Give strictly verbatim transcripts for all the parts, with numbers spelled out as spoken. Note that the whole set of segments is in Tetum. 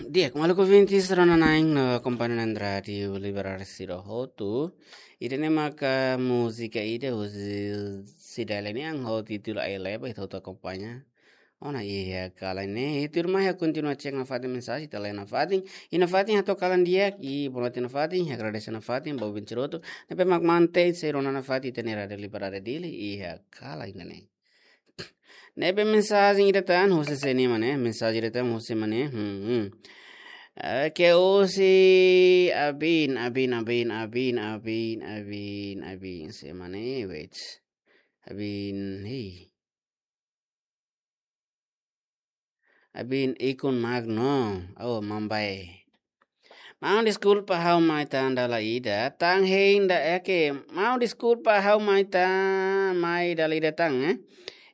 Di'ak, maluk ouvintes rona-na'in no akompaña Rádiu Liberal sira hotu. Ida-ne'e maka múzika ida husi Cidalia nian ho títulu Ai Leba, ita hotu akompaña. Ona iha kalan ne'e, ita mai kontinua cek nafatin mensajen, ita lee nafatin. I nafatin hato'o kalan di'ak, i boa noite nafatin, agradese nafatin ba ouvinte sira hotu ne'ebé mak mantein sei rona nafatin ita-nia Rádiu Liberal Dili iha kalan ne'e. Ne'ebé mensajen ida tan husi sé nian, maun, eh? Mensajen ida tan husi maun, eh? Hmm, hmm. Eh, ke husi Abin, Abin, Abin, Abin, Abin, Abin, Abin, sé maun, eh? Wait. Abin, hei. Abin ikun magno, oh, mambai. Maun, deskulpa ha'u mai tan dala ida, tan hein ida, eh, ke, maun, deskulpa ha'u mai tan, mai dala ida tan, eh.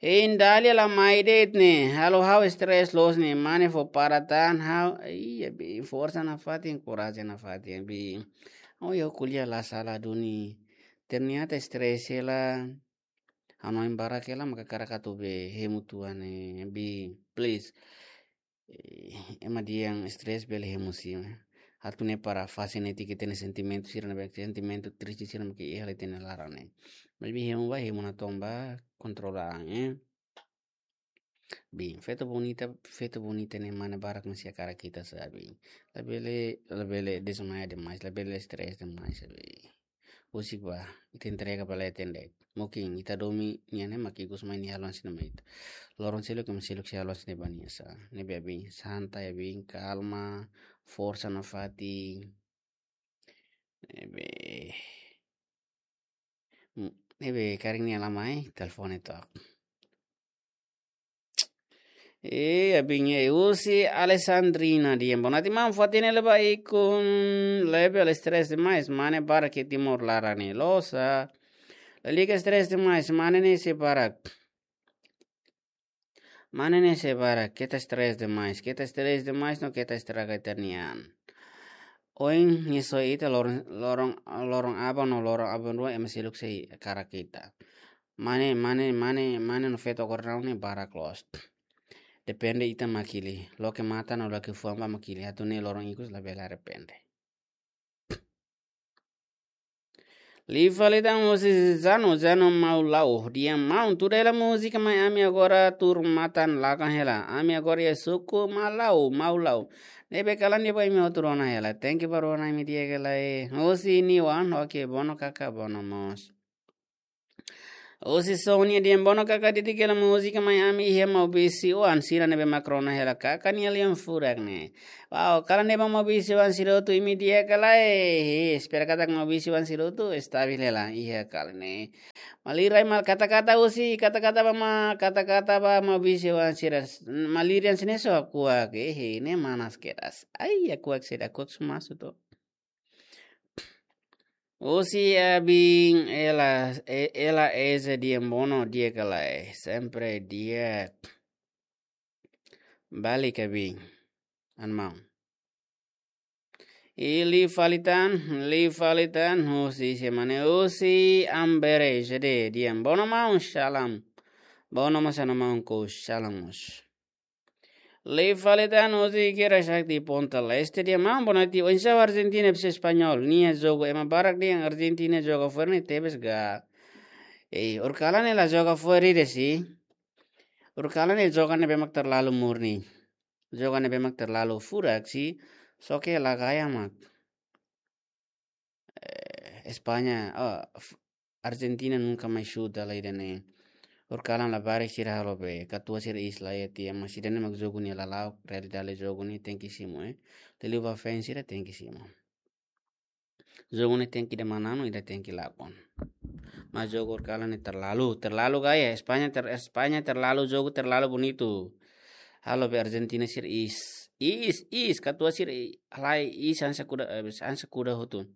Hein Dalia la mai de'it ne'e, halo ha'u stress loos ne'e, mane fó para tan ha'u, iya, Abin, forsa nafatin, korajen nafatin, Abin. Oh, ya, ko'alia la sala duni. Ternyata stress hela, hanoin barak hela, maka hakarak atu bá hemu tua ne'e, Abin, please. Eh, ema dehan stress bele hemu sim, eh. Atu ne'e para fase netik ita-nia sentimentu sira ne'ebé, sentimentu triste sira mak iha ita-nia laran ne'e. Maibé hemu bá, hemu natoon bá, kontrola an, eh. Abin, feto bonita, feto bonita ne'e mane barak mak sei hakarak ita, sabe. Labele, labele desmaia demais, labele stress demais, sabe. Husik bá, ita entrega ba leten de'it. Mungkin ita domin nian ne'e mak ikus mai nia haluha hanesan ne'e mai ita. Loron seluk ema seluk sei haluha hanesan ne'e ba nia sa. Ne'ebé Abin, santai Abin, kalma, forsa nafatin. Ne'ebé, hmm, ne'ebé karik nia la mai, telefone to'ok. Eh, Abin, eh, husi Alessandrina dehan, boa noite maun, fatin ne'e leba ikun lebe, ela stress demais, mane barak iha Timor laran ne'e, loos sa. Lalika stress demais, mane ne'e sei barak. Mane ne'e sei barak, keta stress demais, keta stress demais no keta estraga ita-nia an. Ohin nia soe ita loron, loron, loron aban no loron aban-rua ema seluk sei hakarak ita. Mane, mane, mane, mane no feto agora ne'e barak loos. Depende ita mak hili. Loke matan no loke fuan bá mak hili. Atu ne'e loron ikus labele arrepende. Liu fali tan husi Zano, Zano Maulau. Dehan maun, tuda hela múzika mai ami agora tuur matan lakan hela. Ami agora iha suku Malau, Maulau. Ne'ebé kalan di'ak ba imi hotu rona hela. Thank you ba rona imi di'ak hela, eh. Husi Niwan, oke, Bono kaka, Bono mós. Husi Sonia dehan, Bono kaka, didik hela múzika mai ami iha maubisi-oan sira ne'ebé mak rona hela kaka nia lian furak ne'e. Wow, kalan di'ak ba maubisi-oan sira hotu, imi di'ak ka lae? He, espera katak maubisi-oan sira hotu estabil hela iha kalan ne'e. Malirai mal kata-kata husi, kata-kata ba ma, kata-kata ba maubisi-oan sira. Maliran sine so kuak, eh, he, ne'e manas kedas. Ai, ya kuak seda, kuak sumasu to. Husi Abin, ela, e-, ela eze dehan Bono di'ak ka lae, sempre di'ak. Balik Abin, an maun. I liu fali tan, liu fali tan, husi sé maun ne'e, husi Ambere, J D, dehan Bono maun, salam. Bono mós an maun, ko salam mós. Liu fali tan husi Kira Sakti Ponta Leste dehan maun, boa noite, oinsá Argentina versus Espanhol nia jogu, ema barak dehan Argentina joga fo'er ne'e tebes ga. Eh, horikalan ne'e la joga fo'er ida si. Horikalan ne'e joga ne'ebé mak terlalu murni. Joga ne'ebé mak terlalu furak si. Só ke la gaya mak. Eh, España, oh, f-, Argentina nunka mai xuta la ida ne'e. Horikalan labarik sira halo be, katuas sira iis la iha tiha, mas ida ne'e mak jogu nia lala'ok, realidade jogu ne'e tenke simu, eh. Liuliu ba fans sira tenke simu. Jogu ne'e tenke ida manán, ida tenke lakon. Mas jogu horikalan ne'e terlalu, terlalu gaya. España ter-, España terlalu jogu, terlalu bonitu. Halo be Argentina sira iis. Iis, iis, katuas sira i-, halai iis hanesan kuda, eh, hanesan kuda hotu.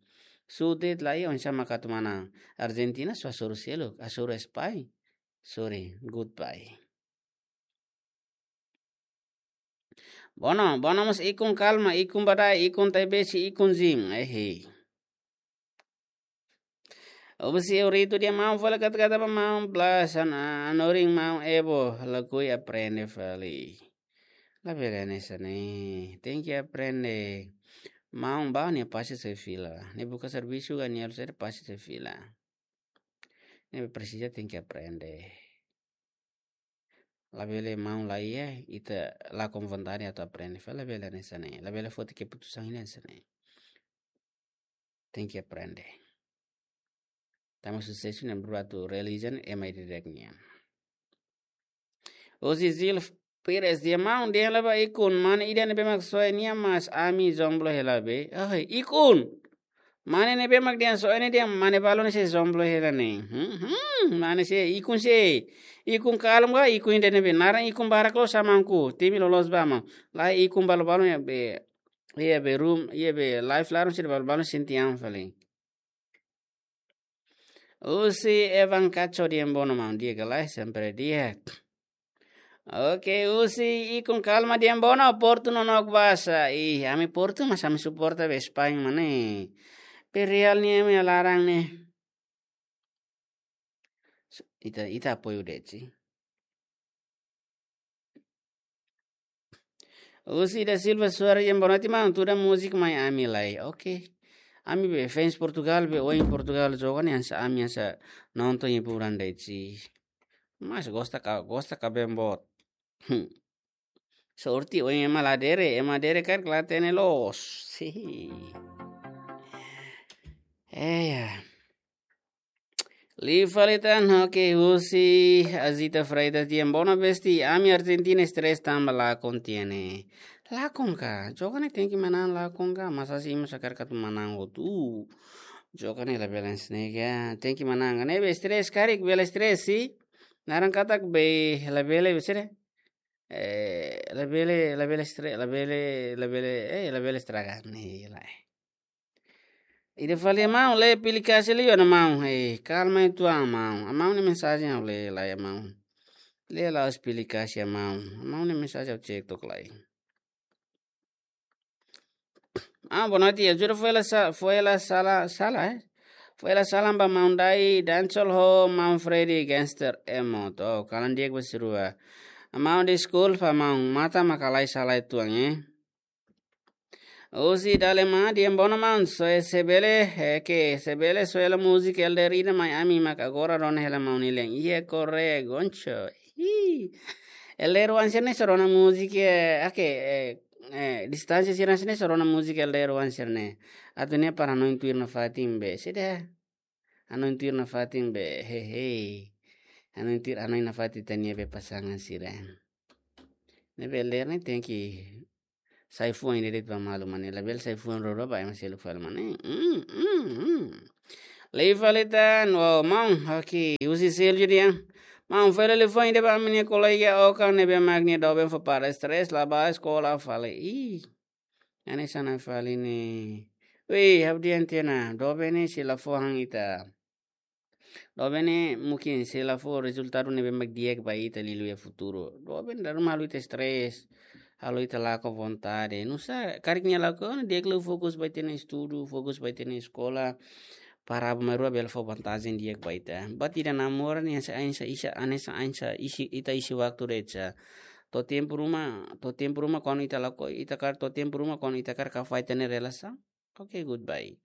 Xuta la iha, oinsá mak atu manán. Argentina só hasoru seluk, hasoru España. Sorry, goodbye. Bono, Bono mós ikun kalma, ikun badai, ikun taibesi, ikun zin. Eh, hei. Husi Euritu dehan maun, fali kata-kata ba maun Blas, an-, anorin maun Ebo, lakohi aprende fali. Labele hanesan ne'e. Tenke aprende. Maun ba nia pasti sei fila. Nia buka servisu ka nia halo saida pasti sei fila. Ne'ebé presiza tenke aprende. Labele maun la iha, ita lakon vontade atu aprende. Fali labele hanesan ne'e. Labele foti keputusan hanesan ne'e. Tenke aprende. Tanba susesu ne'e buat atu realiza ne'e ema ida-idak nian. Husi Zil Pires, dehan maun, dehan la ba ikun, mane ida ne'ebé mak soe nia mas ami jomblo hela be. Ai, ikun. Mane ne'ebé mak dehan soe nia dehan mane balun ne'e sei jomblo hela ne'e. Hmm, hmm, mane sei, ikun sei. Ikun kalma, ikun ida ne'ebé. Naran ikun barak loos maun ku. Temi loloos ba maun. La ikun balu-balu iha be. Iha be room, iha be live laran sira balu-balu sente an fali. Husi Evan Cacho, dehan bono maun, di'ak ka lae, sempre di'ak. Oke, husi ikun kalma, dehan bono, Portu nonook basa. Ih, ami Portu mas ami suporta be Spain mak ne'e. Pe Real ne'e ami laran ne'e. Ita, ita apoiu de'it. Husi da Silva Soares, dehan boa noite maun, tuda múzika mai ami lai. Oke. Ami be fans Portugal be oin Portugal joga ne'e hanesan ami hanesan nonton iha buran de'it. Mas gosta ka, gosta ka bem boot. Hmm. Sorte oin ema la dere, ema dere karik la hatene loos. Hihi. Eh, ya. Liu fali tan, oke, husi Azita Freitas, dehan bono besti, ami Argentina stress tanba lakon tiha ne'e. Lakon ka, joga ne'e tenke manán lakon ka, masa si masa karik atu manán hotu. Joga ne'e labele hanesan ne'e ka, tenke manán ka. Ne'ebé stress karik, bele stress si. Naran katak be, labele be sere. Eh, labele, labele stre-, labele, labele, eh, labele estraga ne'e lae. Ida fali maun, lee aplikasi liu ona maun. Eh, kalma uitoan maun. Maun nia mensajen ha'u lee lai maun. Lee la aplikasi maun. Maun nia mensajen ha'u cek tok lai. Ah, boa noite. Ajuda foin hela sa-, foin hela sala, sala, eh? Foin hela salam ba maun Dai, Dancehall ho, maun Freddy, Gangster, Emo. To, kalan di'ak ba sira rua. Maun deskulpa, maun. Matan mak halai sala uitoan, eh? Husi Dalema, dehan bono maun, soe se bele, eh, ke, se bele, soe hela múzika Elder ida mai ami mak agora rona hela maun Nilen. Iha Korre, Goncho. Ih. Elder wan sira-ne'e só rona múzika, eh, ake, eh, eh, distánsia sira-ne'e só rona múzika Elder wan sira-ne'e. Atu ne'e para hanoin tuir nafatin be. Sida. Hanoin tuir nafatin be, hehe. Hanoin tuir, hanoin nafatin ita-nia be pasangan sira. Ne'ebé Elder ne'e tenke sai fuan ida de'it ba malu mak ne'e. Labele sai fuan roro ba ema seluk fali mak ne'e. Mm, mm, mm. Liu fali tan, wow, maun, oke, husi Selju dehan. Maun, foin hela liafuan ida ba ami-nia kolega Okan ne'ebé mak nia doben fó para stress, la bá eskola fali. Ih. Hanesan ne'e fali ne'e. Wei, ha'u dehan tiha ona, doben ne'e sei la fó han ita. Doben ne'e mungkin sei la fó rezultadu ne'ebé mak di'ak ba ita liuliu iha futuru. Doben dala ruma halo ita stress, halo ita lakon vontade. Nusá, karik nia lakon, di'ak liu fokus ba ita-nia estudu, fokus ba ita-nia eskola. Para aban-bainrua bele fó vantajen di'ak ba ita. Buat ida namora ne'e hanesan, hanesan, hanesan, hanesan, hanesan isin, ita isin waktu de'it sa. To'o tempu ruma, to'o tempu ruma kuandu ita lakohi, ita kaer to'o tempu ruma kuandu ita kaer kafai ita-nia relasaun. Oke, goodbye.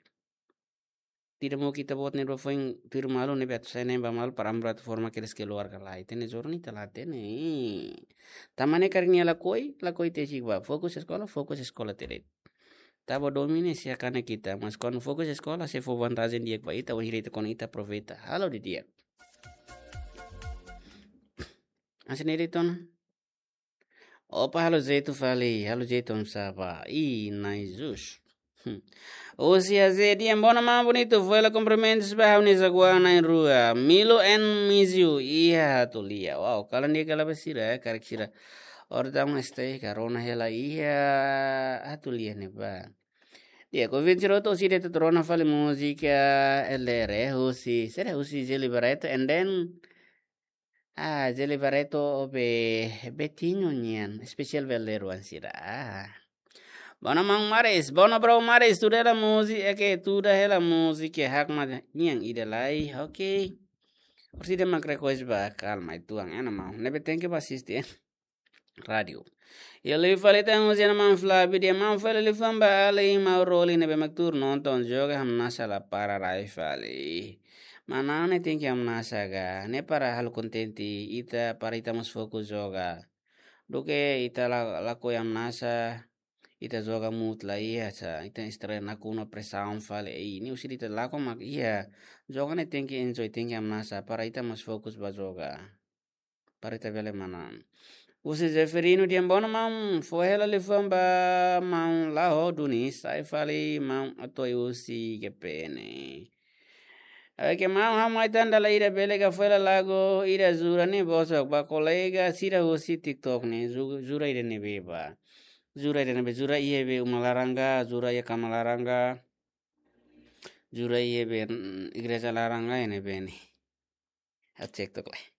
Tidak mau kita buat ne'e dua foin tuir malu ne'ebé atu sai ne'e ba malu para aban-bainrua atu forma kedas keluarga lai. Ita-nia joru ne'e ita la hatene. Tanba ne'e karik nia lakohi, lakohi tesik ba. Fokus eskola, fokus eskola tiha de'it. Tanba domin ne'e sei hakane ita, mas kuandu fokus eskola sei fó vantajen di'ak ba ita, wainhira ita kuandu ita aproveita. Halo didi'ak. Hanesan ne'e de'it ona. Opa, halo jeitu fali, halo jeitu oinsá ba. Ih, Nai Jus. Hmm. Husi Azé dehan bono maun bonitu, foin hela kumprimentus ba ha'u-nia jagoan na'in-rua. Milo and Mizio, iha Hatulia. Wow, kalan di'ak kala ba sira, eh, karik sira. Ora tama stay ka rona hela iha Hatulia ne'ebá. Di'ak, oinsá rona atu sira atu rona fali múzika Elder, eh, husi, sira husi Zeli Barreto, and then, ah, Zeli Barreto be Betinho nian, espesiál ba Elder wan sira. Ah. Bono maun Maris, bono bro Maris, tuda hela múzika, oke, tuda hela múzika, hakmatek nian ida lai, oke. Orsida mak request ba, kalma uitoan, ena maun, ne'ebé tenke ba asisti, eh. Rádiu. Iha liu fali ita husu ona maun Flavio dehan maun fali liafuan ba alin maun Roli ne'ebé mak tuur nonton joga hamnasa la para rai fali. Manán ne'e tenke hamnasa ka, ne'e para halo kontente ita, para ita mós fokus joga. Duké ita la, lakohi hamnasa, ita joga mood la iha sa, ita estresa nakonu presaun fali, ei, ne'e husi ita lakohi mak iha. Joga ne'e tenke enjoy, tenke hamnasa, para ita mós fokus ba joga. Para ita bele manán. Husi Zeferino dehan bono maun, fó hela liafuan ba maun Laho duni, sai fali maun Atoi husi G P N. Oke, maun, ha'u mai tan dala ida bele ka fó hela lagu ida jura ne'e bosok ba kolega sira husi TikTok ne'e, ju-, jura ida ne'ebé ba. Jura ida ne'ebé, jura iha be uma laran ka, jura iha kama laran ka. Jura iha be, mm, igreja laran ka, iha ne'ebé ne'e. Ha'u cek tok lai.